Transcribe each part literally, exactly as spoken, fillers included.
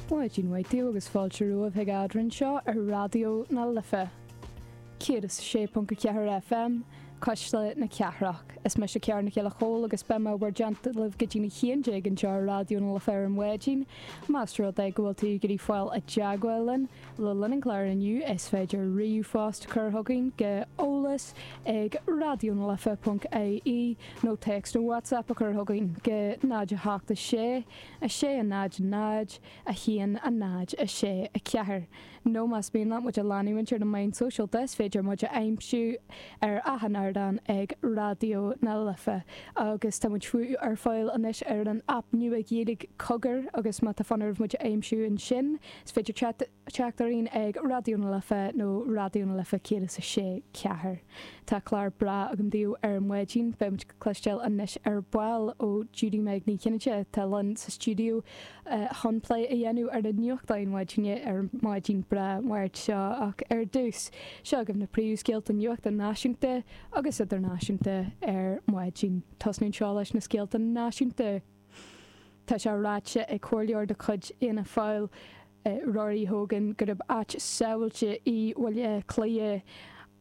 Maidin mhaith daoibh agus fáilte romhaibh chuig Eadrainn seo ar Raidió na Life. Céad is a sé ponc a ceathair FM, Cuisle na Cathrach. Is mise Ciara Nic Giolla Chóill agus beidh mé bhur dteannta libh go dtí a haon déag anseo ar Raidió na Life ar maidin. Más rud é go bhfuil tú ag iarraidh fáil i dteagmháil linn le linn an chláir inniu is féidir ríomhphost a chur chugainn go eolas ag raidionalife.ie nó téacs nó WhatsApp a chur chugainn go náid a hocht a sé a sé a náid náid a haon a náid a sé a ceathair. Nó más mian leat muid a leanúint ar na meáin sóisialta is féidir muid a aimsiú ar achan ardán ag Raidió na Life. Agus tá muid fiú ar fáil anois ar an aip nua Ghaeilge Cogar agus má tá fonn oraibh muid a aimsiú ansin, is féidir teacht orainn ag Raidió na Life nó Raidió na Life céad is a sé ceathair. Tá clár breá agam daoibh ar maidin, beidh muid ag cloisteáil anois ar ball ó Judy Meg Ní Chinneide atá linn sa stiúideo chun plé a dhéanamh ar na nuachtáin maidine ar maidin breá Máirt seo ach ar dtús seo agaibh na príomhscéalta nuachta náisiúnta agus idirnáisiúnta ar maidin. Tosnú seo leis na scéalta náisiúnta. Tá sé ráite ag comhairleoir de chuid Fhianna Fáil Rory Hogan gurb áit sábháilte í Baile Átha Cliath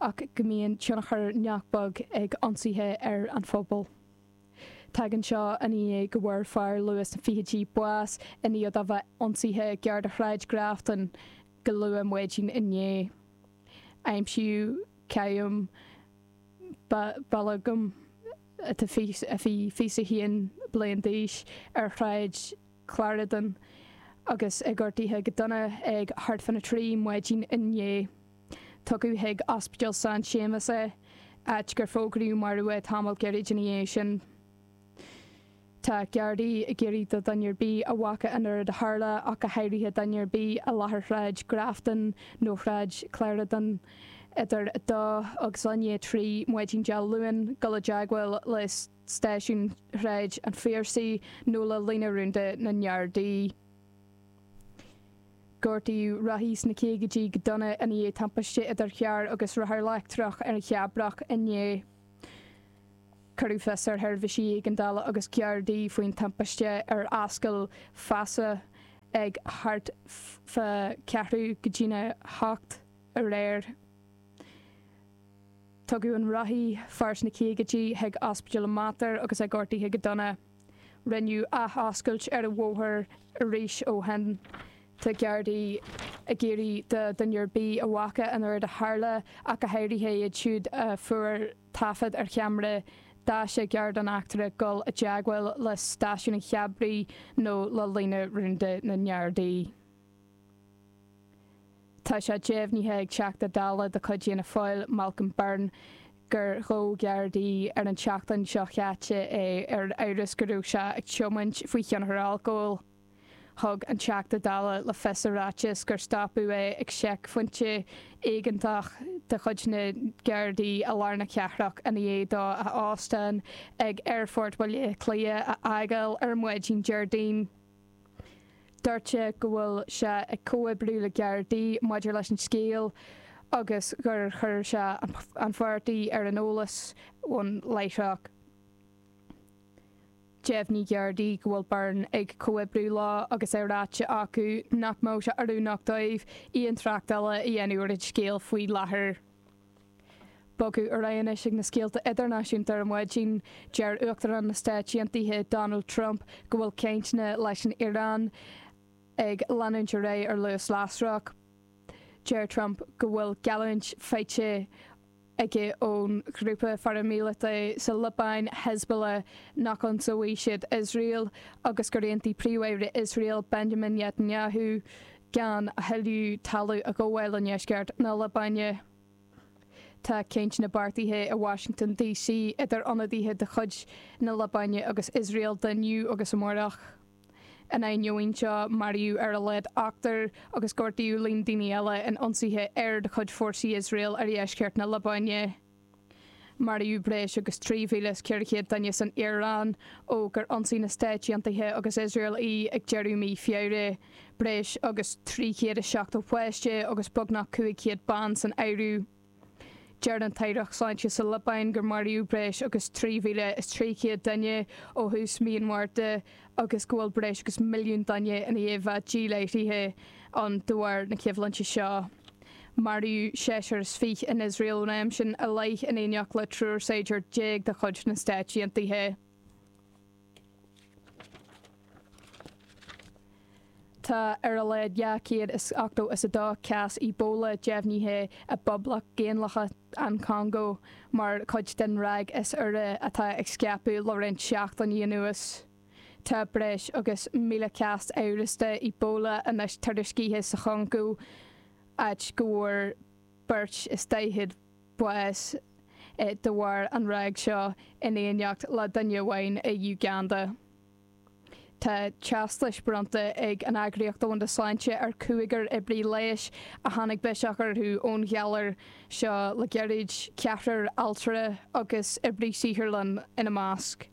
ach go mbíonn tionchar nach beag ag ionsaithe ar an phobal. Tagann seo i ndiaidh go bhfuair fear luath sna fichidí bás i ndiaidh dó a bheith ionsaithe gar do Shráid Grafton go luath maidin inné. Aimsíodh Qayyum Balógun atá a bhí fiche a haon bliain d'aois ar Shráid Clarendon agus é gortaithe go dona ag thart fána trí maidin inné. Tugadh chuig Ospidéal San Séamas é, áit gur fógraíodh marbh é tamall gairid ina dhiaidh sin. Tá Gardaí ag iarraidh do dhuine ar bith a bhfaca an rud a tharla ach go háirithe duine ar bith i láthair Shráid Grafton nó Shráid Clarendon idir a dó agus i ndiaidh a trí maidin Dé Luain dul i dteagmháil le stáisiún Shráid an Phiarsaigh nó le líne rúnda na nGardaí. Gortaíodh rothaí sna caogaidí go dona ina dhiaidh timpiste idir charr agus rothar leictreach ar an Cheabrach inné. Cuireadh fios ar sheirbhísí éigeandála agus Gardaí faoin timpiste ar Ascaill Feasa ag thart fá ceathrú go dtína hocht aréir. Tugadh an rothaí fear sna caogaidí chuig Ospidéal Mater agus é gortaithe go dona. Rinneadh athoscailt ar an bhóthar arís ó shin. Tá Gardaí ag iarraidh do dhuine ar bith a bhfaca an rud a tharla ach go háirithe iad siúd a fuair taifead ar cheamara daise gar don eachtra dul i dteagmháil le stáisiún an Cheabraí nó le líne rúnda na nGardaí. Tá sé deimhnithe ag Teachta Dála de chuid Fhianna Fáil Malcolm Byrne gur ghabh Gardaí ar an tseachtain seo caite é ar amhras go raibh sé ag tiomáint faoi thionchar alcóil. Thug an Teachta Dála le fios i ráiteas gur stopadh é ag seicphointe éigeantach de chuid na Gardaí i lár na cathrach ina dhiaidh dó a óstán ag Aerfort Bhaile Átha Cliath a fhágáil ar maidin Déardaoin. Dúirt sé go bhfuil sé ag comhoibriú le Gardaí maidir leis an scéal agus gur chuir sé an pháirtí ar an eolas ón láithreach. Deimhnigh Gardaí go bhfuil Byrne ag comhoibriú leo agus é ráite acu nach mbeadh sé oiriúnach dóibh aon trácht eile a dhéanamh ar an scéal faoi láthair. Bogadh ar aghaidh anois ag na scéalta idirnáisiúnta ar maidin deir Uachtarán na Stáit Aontaithe Donald Trump go bhfuil cainteanna leis an Iaráin ag leanúint ar aghaidh ar luas lasrach. Deir Trump go bhfuil geallúint faighte aige ón ghrúpa pharaimíleata sa Liobáin Hezbollah nach n-ionsaíonn siad Iosrael agus gur aontaigh Príomh-Aire Iosrael Benjamin Netanyahu gan a thuilleadh talamh a ghabháil i ndeisceart na Liobáine. Tá cainteanna beartaithe i Washington DC idir ionadaithe de chuid na Liobáine agus Iosrael inniu agus amárach. In ainneoin seo maraíodh ar a laghad ochtar agus gortaíodh líon daoine eile in ionsaithe aeir de chuid fórsaí Iosrael ar dheisceart na Liobáine. Maraíodh breis agus trí mhíle is ceithre chéad duine san Iaráin ó gur ionsaigh na Stáit Aontaithe agus Iosrael í ag deireadh mí Feabhra, breis agus trí chéad is seachtó páiste agus beagnach cúig chéad ban san áireamh. Deir an tAireacht Sláinte sa Liobáin gur maraíodh breis agus trí mhíle is trí chéad duine ó thús mí an Mhárta agus go bhfuil breis agus milliún duine i ndiaidh a bheith díláithrithe ann de bharr na coimhlinte seo. Maraíodh seisear is fiche in Iosrael ón am sin i leith in éineacht le triúr saighdiúir déag de chuid na Stáit Aontaithe. Tá ar a laghad dhá chéad is ochtó is a dó cás Ebola deimhnithe i bPoblacht Dhaonlathach an Chongó mar chuid den ráig is úire atá ag scaipeadh le roinnt seachtainí anuas. Tá breis agus míle cás amhrasta Ebola anois tuairiscithe sa Chongó, áit go bhfuair beirt is daichead bás de bharr an ráig seo in éineacht le duine amháin i Uganda. Tá teastais bronnta ag an Eagraíocht Domhanda Sláinte ar chúigear oibrí leighis a tháinig biseach orthu ón ghalar seo le gairid, ceathrar altra agus oibrí saotharlann ina measc.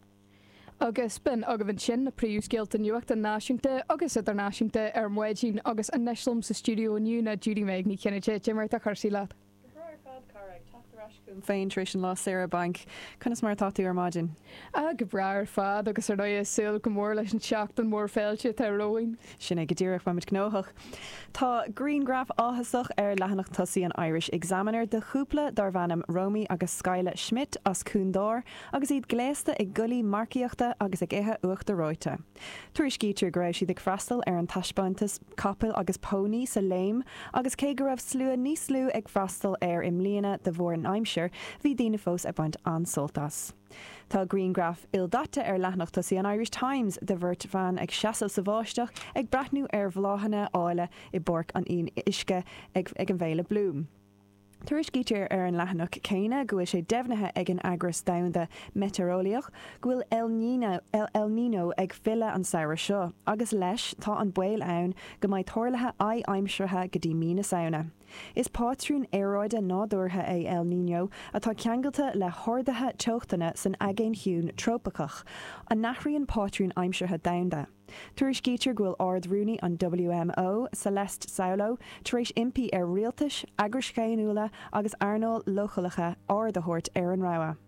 Agus b'in agaibh ansin na príomhscéalta nuachta náisiúnta agus idirnáisiúnta ar maidin agus anois liom sa stiúideo inniu ná Judy Meg Ní Chinnéide. Cad é mar atá cúrsaí leat? Go breá ar fad, cara, ag teacht ar ais chugam féin tar éis an lá saoire bainc. Conas mar atá tú ar maidin? Ah, go breá ar fad agus ar ndóigh ag súil go mór leis an tseachtain mhór féilte atá romhainn. Sin é go díreach, beimid gnóthach. Tá grianghraf áthasach ar leathanach tosaigh an Irish Examiner de chúpla darb ainm Romy agus Skyla Schmidt as Cuan Dor agus iad gléasta i gculaith marcaíochta agus ag ithe uachtar reoite. Tuairiscítear go raibh siad ag freastal ar an taispeántas capall agus pónaí sa Léim agus cé go raibh slua níos lú ag freastal air i mbliana de bharr an aimsir, bhí daoine fós ag baint an-sult as. Tá grianghraf ildaite ar leathanach tosaigh an Irish Times de bheirt bhan ag seasamh sa bháisteach ag breathnú ar bhláthanna áille i bPáirc an Fhionnuisce ag an bhFéile Bloom. Tuairiscítear ar an leathanach céanna go bhfuil sé deimhnithe ag an Eagras Domhanda Meitéareolaíoch go bhfuil El Niño, El Niño ag filleadh an samhradh seo agus leis tá an baol ann go mbeidh tarluithe adhaimseartha go dtí mí na Samhna. Is pátrún aeráide nádúrtha é El Niño atá ceangailte le harduithe teochtanna san Aigéan Ciúin trópaiceach, a n-athraíonn pátrún aimseartha domhanda. Tuairiscítear go bhfuil Ard-Rúnaí an WMO, Celeste Saulo, tar éis impí ar rialtais, eagrais dhaonnúla agus earnáil leochaileacha aird a thabhairt ar an rabhadh.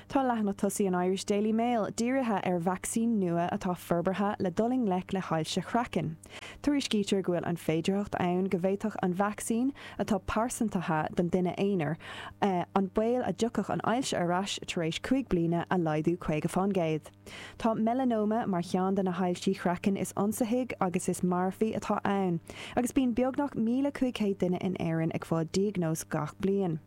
Tá leathanach tosaigh an Irish Daily Mail dírithe ar vacsaín nua atá forbartha le dul i ngleic le hailse chraicinn. Tuairiscítear go bhfuil an féidearthacht ann go bhféadfadh an vacsaín, atá pearsantaithe don duine aonair, an baol a dtiocfadh an ailse ar ais tar éis cúig bliana a laghdú caoga fán gcéad. Tá melanoma mar cheann de na hailsí chraicinn is ionsaithigh agus is marfaí atá ann, agus bíonn beagnach míle cúig chéad duine in Éirinn ag fáil diagnóis gach bliain.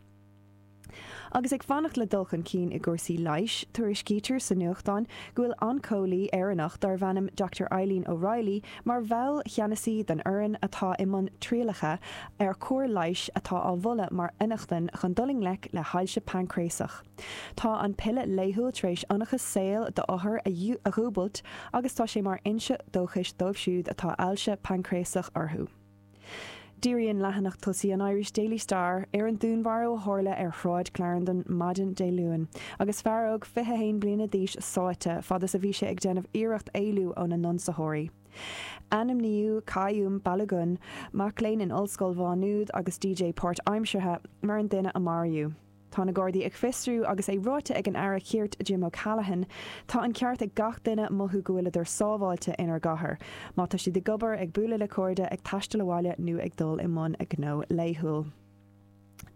Agus ag fanacht le dul chun cinn i gcúrsaí leighis, tuairiscítear sa nuachtán go bhfuil oncólaí Éireannach darb ainm Doctor Eileen O'Reilly mar bhall cheannasaí den fhoireann atá i mbun trialacha ar chóir leighis atá á mholadh mar fhionnachtain chun dul i ngleic le hailse paincréasach. Tá an piolla laethúil tar éis ionchas saoil d'othair a dhúbailt agus tá sé mar fhoinse dóchais dóibh siúd atá ailse paincréasach orthu. Díríonn leathanach tosaigh an Irish Daily Star ar an dúnmharú a tharla ar Shráid Clarendon maidin Dé Luain, agus fear óg fiche a haon bliana d'aois sáite fad is a bhí sé ag déanamh iarracht éalú óna n-ionsaitheoirí. Ainmníodh Qayyum Balogun, mac léinn in Ollscoil Mhá Nuad agus DJ páirtaimseartha, mar an duine a maraíodh. Tá na Gardaí ag fiosrú agus é ráite ag an Aire Cirt Jim O'Callaghan, Tá an ceart ag gach duine mothú go bhfuileadar sábháilte inár gcathair, má tá siad ag obair, ag bualadh le cairde, ag taisteal abhaile nó ag dul i mbun a ngnó laethúil.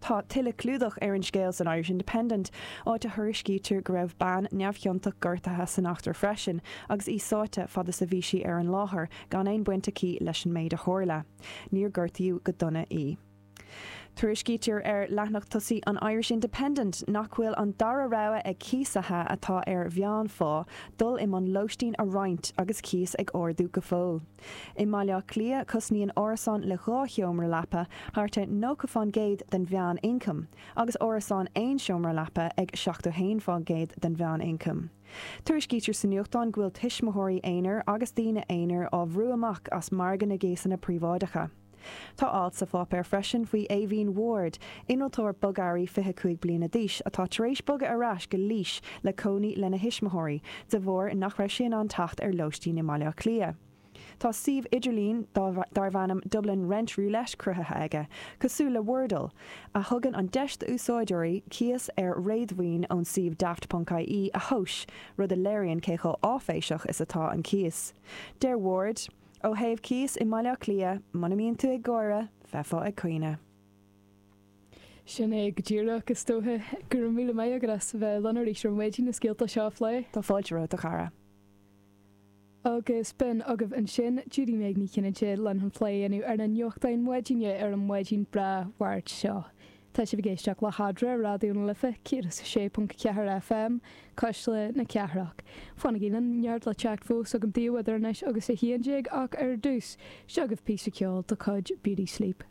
Tá tuilleadh clúdach ar an scéal san Irish Independent, áit a thuairiscítear go raibh bean neamhchiontach gortaithe san eachtra freisin agus í sáite fad is a bhí sí ar an láthair gan aon bhaint aici leis an méid a tharla. Níor gortaíodh go dona í. Tuairiscítear ar leathanach tosaigh an Irish Independent nach bhfuil an dara rogha ag cíosaithe atá ar mheánphá dul i mbun lóistín a roinnt agus cíos ag ardú go fóill. I mBaile Átha Cliath, cosnaíonn árasán le dhá sheomra leapa thart ar nócha fán gcéad den mheánioncam agus árasán aon seomra leapa ag seachtó haon fán gcéad den mheánioncam. Tuairiscítear sa nuachtán go bhfuil tuismitheoirí aonair agus daoine aonair á bhrú amach as margadh na gcíosanna príobháideacha. Tá alt sa pháipéar freisin faoi Aoibhín Ward, innealtóir bogearraí fiche cúig bliana d'aois atá tar éis bogadh ar ais go Laois le cónaí lena thuismitheoirí, de bharr nach raibh sé in ann teacht ar lóistín i mBaile Átha Cliath. Tá suíomh idirlín darb ainm Dublin Rent Roulette cruthaithe aige, cosúil le Wordle, a thugann an deis d'úsáideoirí cíos ar réadmhaoin ón suíomh daft.ie a thomhas, rud a léiríonn cé chomh áiféiseach is atá an cíos. Deir Ward, ó thaobh cíos i mBaile Átha Cliath, muna mbíonn tú ag gáire, bheifeá ag caoineadh. Sin é go díreach is dócha go raibh míle maith agat as bheith linn arís ar maidin na scéalta seo a phlé. Tá fáilte romhat a chara. Agus b'in agaibh ansin Judy Meg Ní Chinnéide linn chun plé a dhéanamh ar na nuachtáin maidine ar an maidin breá Mháirt seo. Tá sibh ag éisteacht le hEadra Raidió na Life céad is a sé ponc ceathair FM, Cuisle na Cathrach. Fanaigí linn neart le teacht fós agam daoibh idir anois agus a haon déag ach ar dtús, seo agaibh píosa ceoil de chuid Beauty Sleep.